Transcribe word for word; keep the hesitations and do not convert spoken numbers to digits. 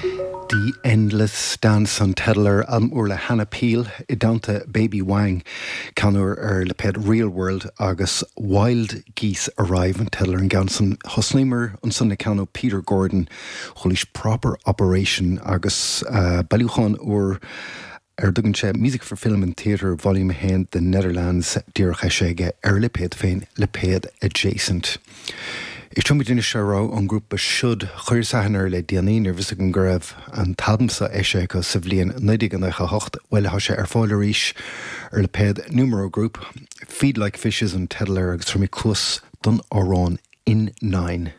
The Endless Dance an teideal ar albam úr le Hannah Peel i dteannta Baby Wang ceann úr ar lipéad Real World agus Wild Geese Arrive an teideal ar an gceann san. Thosnaíomar ansan le ceann ó Peter Gordon chualaís Proper Operation agus uh, bailiúchán úr ar a dtugann sé Music for Film and Theatre Volume a haon The Netherlands díreach eisithe aige ar a lipéad féin lipéad Adjacent. Éistfimid anois le rogha ón ngrúpa Should chuireas aithne air le déanaí ní raibh a fhios agam go raibh an t-albam seo eisithe acu sa bhliain naoi déag nócha a hocht bhuel tá sé ar fáil arís ar lipéad Numero Group, Feed Like Fishes an teideal air agus tabharfaimid cluas don amhrán In Nine.